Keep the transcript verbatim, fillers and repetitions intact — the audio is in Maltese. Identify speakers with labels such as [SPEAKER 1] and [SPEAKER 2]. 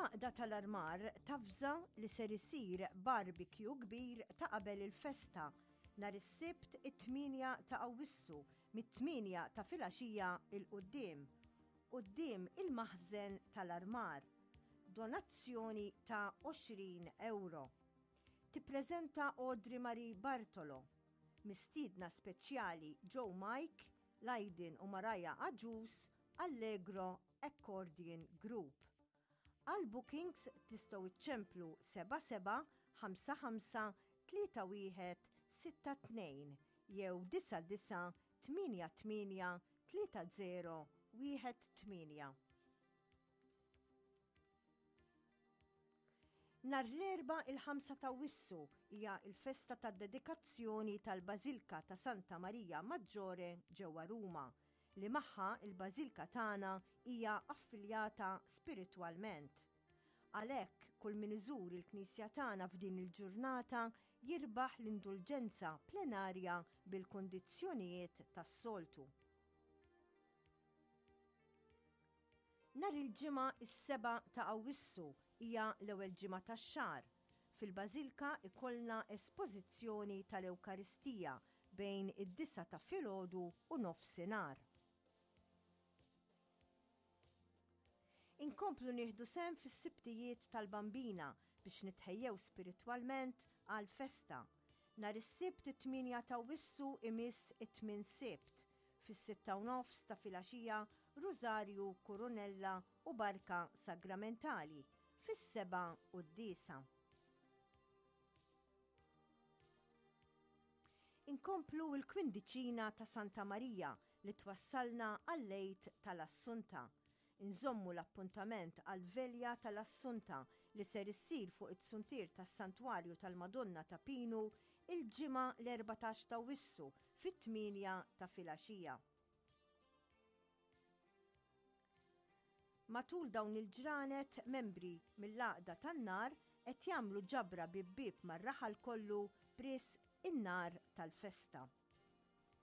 [SPEAKER 1] L-Għaqda tal-Armar tavża li ser isir barbecue kbir ta' qabel il-festa nhar is-Sibt it-tmienja ta' Awwissu mit-tmienja ta' filgħaxija 'l quddiem, quddiem il-maħżen tal-Armar. Donazzjoni ta' għoxrin ewro. Tippreżenta Audrey Marie Bartolo. Mistiedna speċjali Joe Mike, Lydon u Mariah Agius, Allegro Accordion Group. Għal bookings tistgħu iċċemplu seba' seba' ħamsa ħamsa tlieta wieħed sitta tnejn jew disa' disa' tmienja tmienja tlieta zero wieħed tmienja. Nhar l-Erbgħa il-ħamsa ta' Awwissu hija l-festa tad-dedikazzjoni tal-Bażilka ta' Santa Maria Maggiore ġewwa Ruma, li magħha l-Bażilka tagħna hija affiljata spiritwalment. Għalhekk kull min iżur il-Knisja tagħna f'din il-ġurnata jirbaħ l-indulġenza plenarja bil-kundizzjonijiet tas-soltu. Nhar il-Ġimgħa is-sebgħa ta' Awwissu hija l-ewwel ġimgħa tax-xahar. Fil-Bażilka ikollna espożizzjoni tal-Ewkaristija bejn id-disgħa ta' filgħodu u nofsinhar. Inkomplu nieħdu sehem fis-Sibtijiet tal-Bambina biex nitħejjew spiritwalment għall-festa. Nhar is-Sibt it-tmienja ta' Awwissu imiss it-tmien Sibt. Fis-sitta u nofs ta' filgħaxija Rużarju, Kurunella u Barka Sagramentali. Fis-sebgħa quddiesa. Inkomplu l-kwindiċina ta' Santa Marija li twassalna għall-Għid tal-Assunta. Inżommu l-appuntament għall-Velja tal-Assunta li ser issir fuq it-suntier tas-Santwarju tal-Madonna ta' Pinu il-Ġimgħa l-erbatax ta' Awwissu fit-tmienja ta' filgħaxija. Matul dawn il-ġranet membri mill-Għaqda tan-Nar qed jagħmlu ġabra bieb bieb mar-raħal kollu b'risq in-nar tal-festa.